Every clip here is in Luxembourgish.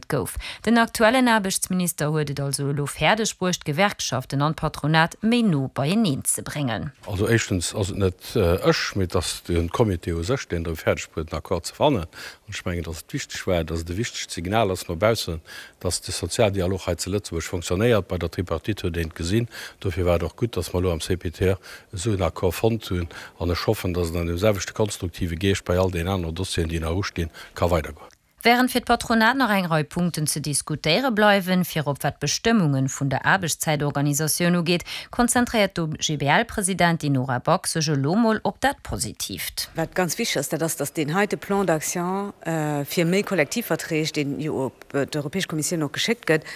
Gouf. Den aktuellen Aarbechtsminister huet et also elo fäerdeg bruecht, d'Gewerkschaften an d'Patronat méi no beieneen ze bréngen. Also éischtens ass et net ech, mee et ass de Comité u sech, deen et fäerdeg bruet, en Accord ze fannen. An ech mengen, datt et wichteg war, datt et e wichtegt Signal ass no baussen, datt de Sozialdialog hei zu Lëtzebuerg fonctionnéiert. Bei der Tripartite huet een et gesinn. Dofir war et och gutt, datt mer elo am CPTE esou en Accord fonnt hunn. An ech hoffen, datt et an deem selwechte konstruktive Geescht bei all deenen anere Dossieren, déi nach ustinn, ka weidergoen. Wärend fir d'Patronat nach eng Rei Punkten ze diskutéiere bleiwen, virop wat d'Bestëmmunge vun der Aarbechtszäitorganisatioun ugeet, konzentréiert d'OGBL-Presidentin Nora Back sech elo mol op dat Positiivt. Wat ganz wichteg ass, dat ass, datt deen heite Plan d'action fir méi Kollektivverträg, deen jo op d'Europäesch Kommissioun och geschéckt gëtt,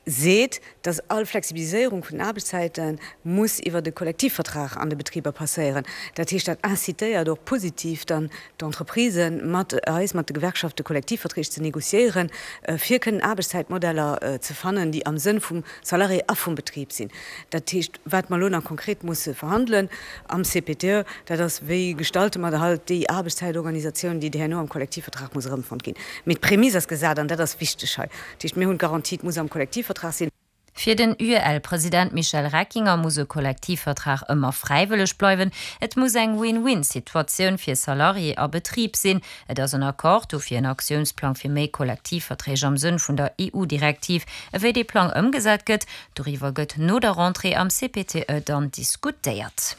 seet, dass all Flexibiliséierung vun den Aarbechtszäite muss iwwert e Kollektivvertrag an de Betriber passéieren. Dat heescht, dat incitéiert och positiv dann d'Entreprisen, mat eis, mat de Gewerkschafte Kollektivverträg ze négociéieren, fir kënnen Aarbechtszäitmodeller ze fannen, déi am Sënn vum Salarié a vum Betrib sinn. Dat heescht, wat mer elo nach konkret musse verhandelen am CPTE, dat ass, Wéi gestalte mer halt déi Aarbechtszäitorganisatioun, déi herno am Kollektivvertrag muss erëmfonnt ginn. Mee d'Prämisse ass gesat an dat ass wichteg hei. Dat heescht, mir hunn d'Garantie, et muss am Kollektivvertrag sinn. Fir den UEL-President Michel Reckinger muss e Kollektivvertrag ëmmer fräiwëlleg bleiwen. Et muss eng Win-win-Situatioun fir Salarié a Betrib sinn. Et ass en Accord do fir en Aktiounsplang fir méi Kollektivverträg am Sënn vun der EU-Direktiv. Ewéi dee Plang ëmgesat gëtt, doriwwer gëtt no der Rentrée am CPTE dann diskutéiert.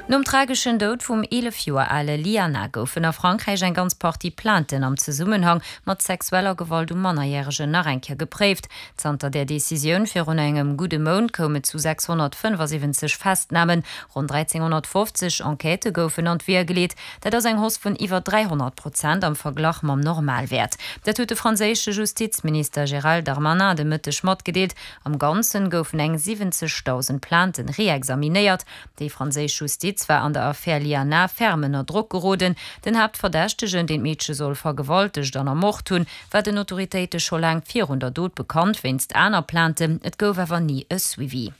Nom trageschen Doud vum 11 Joer ale Liana goufen a Frankräich eng ganz Partie Plainten am Zesummenhang mat sexueller Gewalt u Mannerjäregen nach eng Kéier gepréift. Zanter där Decisioun virun engem gudde Mount koum et zu 675 Festnamen. Ronn 1.350 Enquêtë goufen an d'Weeër geleet. Dat ass eng Hausse vun iwwer 300 Prozent am Verglach mam Normalwäert. Dat huet de franséische Justizminister Gérald Darmanin de Mëtteg matgedeelt. Am Ganzen goufen eng 70.000 Plainten reexaminéiert. Déi franséisch Justiz war an der Affär Liana ferm ënner Drock geroden. Den Haaptverdächtegen, deen d'Meedche soll vergewaltegt an ermort hunn, war den Autoritéite scho laang virun der Dot bekannt, wéinst aner Plainten. Et gouf awer ni e Suivi.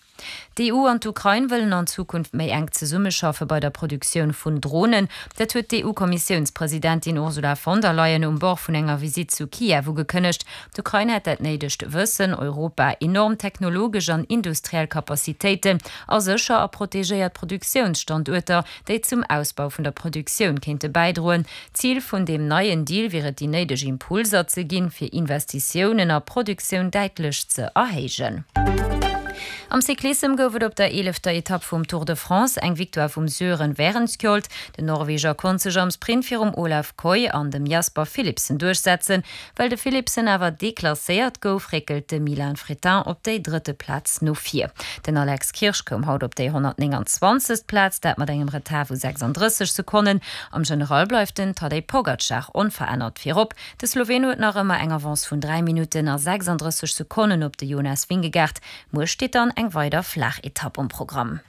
D'EU an d'Ukrain wëllen an Zukunft méi enk zesummeschaffe bei der Produktioun vun Dronen. Dat huet d'EU-Kommissiounspresidentin Ursula von der Leyen um Bord vun enger Visitt zu Kiew ugekënnegt. D'Ukrain hätt dat néidegt Wëssen, Europa enorm technologesch an industriell Capacitéiten a sécher a protegéiert Produktiounsstanduerter, déi zum Ausbau vun der Produktioun kéinte bäidroen. Zil vun deem neien Deal wier et déi néideg Impulser ze ginn, fir Investitiounen a Produktioun däitlech ze erhéijen. Am Cyclissem gouf et op der eelefter Etapp vum Tour de France eng Victoire vum Sören Wærenskjold. Den Norweger konnt sech am Sprint virum Olav Kooij an dem Jasper Philipsen duerchsetzen. Well de Philipsen awer deklasséiert gouf, réckelt de Milan Fretin op déi drëtte Plaz no vir. Den Alex Kirsch koum haut op déi 129. Plaz, dat mat engem Retard vu 36 Sekonnen. Am General bleift den Tadej Pogacar onverännert virop. De Sloween huet nach ëmmer eng Avance vun 3 Minutten a 36 Sekonnen op de Jonas Vingegaard. Muer steet dann eng weider flaach Etapp um Programm.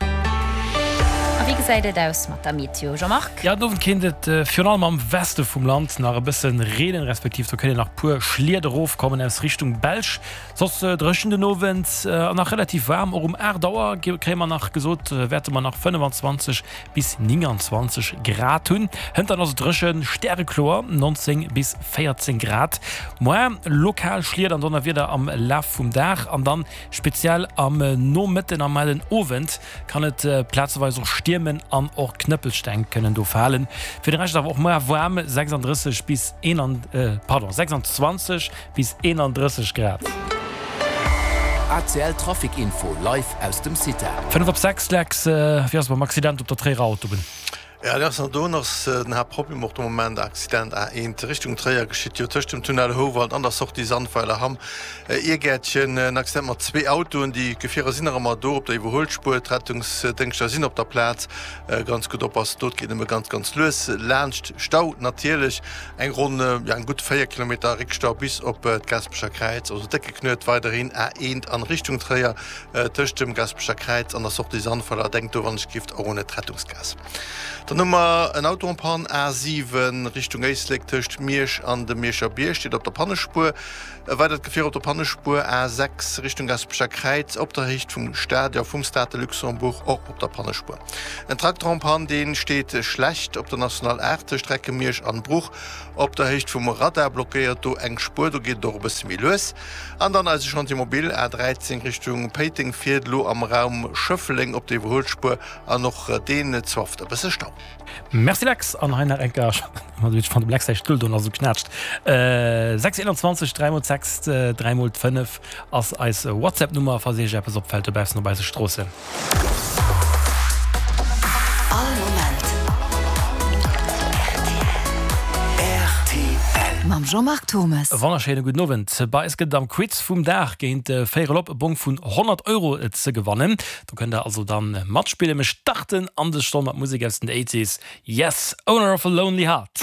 A wéi gesäit et aus mat der Meteo, Jean-Marc? Jo, den Owend kéint et virun allem am Weste vum Land nach e bësse reenen, respektiv do kéint een nach puer Schliet erofkommen aus Richtung Belsch. Soss dréchen den Owend an nach relativ waarm. Och um 8 Auer kréie mer nach gesot, wäerte mer nach 25 bis 29 Grad hunn. Hënt dann ass et dréchen, stärekloer, 19 bis 14 Grad. Moar lokal Schliet an Donnerwieder am Laf vum Dag an dann speziell am Nomëtten a mellen Owend kann et plazeweis och stiermen an och Knëppelsteng kënnen do falen. Fir de Rescht awer och moar waarm, 36 bis pardon 26 bis 31 Grad. ACL Trafic Info live aus dem CITA. 5 op 6, Lex, wéi ass et mam Accident op der Tréierer Autobunn? Jo, dat ass an doen ass den Haaptproblem och de Moment. Accident A1 Richtung Tréier geschitt jo tëscht dem Tunnel Houwald an der Sortie Sandweiler-Hamm Irgäertchen. En Accident mat zwee Autoen. Déi Gefierer sinn nach ëmmer do op der Iwwerhuelspuer. D'Rettungsdéngschter sinn op der Plaz. Ganz gutt oppassen, do et geet nëmme ganz ganz lues laanscht. Stau natierlech. Eng ronn, jo eng gutt 4 Kilometer Réckstau bis op d'Gaasperecher Kräiz, also décke Knuet weiderhin A1 an Richtung Tréier tëscht dem Gaasperecher Kräiz an der Sortie Sandweiler. Denkt do wann ech gift och un d'Rettungsgaass. Dann hu mer en Auto en panne, A7 Richtung Éislek tëscht Miersch an dem Mierscher Bierg, steet op der Pannespuer. E weidert Gefier op der Pannespuer, A6 Richtung Gaspecher Kräiz op der Héicht vum Stadion vum Stade de Luxembourg, och op der Pannespuer. En Trakter en panne, dee steet schlecht op der National 8 tëscht Recke-Miersch an Bruch op der Héicht vum Radar, blockéiert do eng Spuer, do geet et och e bësse méi lues. An dann eise Chantier mobile, A13 Richtung Péiteng fiert elo am Raum Schëffleng op der Iwwerhuelspuer an och deen zwafft e bësse Stau. Merci Lex, an hei nach eng Kéier, ech fand dem Lex säi Stull do nach esou knätscht. 6 21 3 mol 6 3 mol 5 ass eis WhatsApp Nummer falls iech eppes opfällt dobaussen op eise Stroossen. All Moment rtl. Mam Jean-Marc Thommes. E wonnerschéine gudden Owend. Bei eis gëtt et am Quiz vum Dag géint véierel op e Bong vun 100 Euro ze gewannen. Do kënnt der also dann matspillen. Mir starten an des Stonn mat Musek aus den Eighties. Yes, Owner of a Lonely Heart.